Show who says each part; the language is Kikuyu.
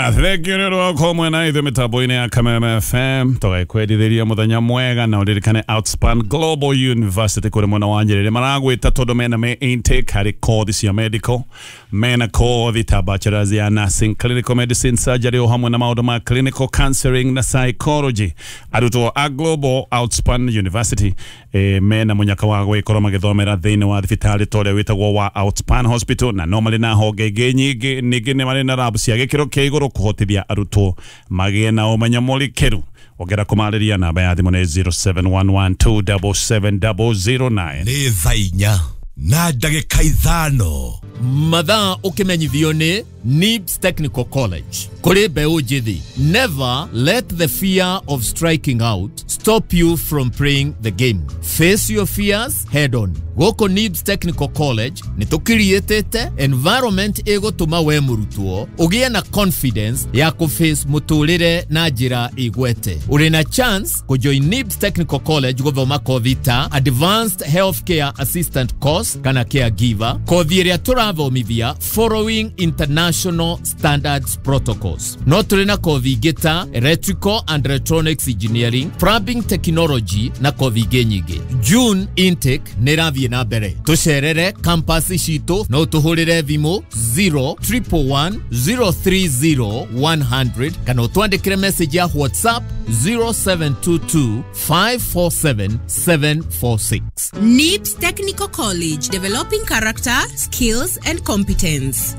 Speaker 1: Aya, thank you nĩ ũndũ wa gũkorwo mwena ithuĩ mĩtambo-inĩ ya Kameme FM. Tũgakwendithĩria mũthenya mwega na ũririkane Outspan Global University kũrĩ mwena wa Nyerere maragwĩta tondũ mena me intake harĩ kothi cia medical, mena kothi ta bachelors ya nursing, clinical medicine, surgery o hamwe na maũndũ ma clinical counseling na psychology. Arutwo a Global Outspan University mena mũnyaka wa gwĩkorwo magĩthomera thĩinĩ wa thibitarĩ ta ũrĩa wĩtagwo wa Outspan Hospital, na no marĩ na honge ingĩ nyingĩ. Ningĩ nĩ marĩ na lab cia gĩkĩro kĩa igũrũ kũhotithia arutwo magĩe na ũmenyo mũrikĩru. Ongera kũmarĩria, namba ya thimũ nĩ 0711277009.
Speaker 2: Nĩ thaa 4:05.
Speaker 3: Mathaa ũkĩmenyithio nĩ NIBS Technical College kũrĩ mbeũ njĩthĩ: never let the fear of striking out stop you from playing the game. Face your fears head on. Gũkũ NIBS Technical College nĩ tũkiriĩtĩte environment ĩgũtũma we mũrutwo ũgĩe na confidence ya kũface mũtũrĩre na njĩra ĩgwete. Ũrĩ na chance kũjoin NIBS Technical College gũthoma kothi ta Advanced Healthcare Assistant Course kana caregiver, kothi ĩrĩa tũrathomithia following international standards protocols. No tũrĩ na kothi ingĩ ta Electrical and Electronics Engineering, Plumbing Technology na kothi ingĩ nyingĩ. June intake nĩ ĩrathiĩ na mbere. Tũcerere campus citũ, no tũhũrĩre thimũ 0111 030 100 kana ũtwandĩkĩre message ya WhatsApp 0722 547 746.
Speaker 4: NIBS Technical College, developing character, skills, and competence.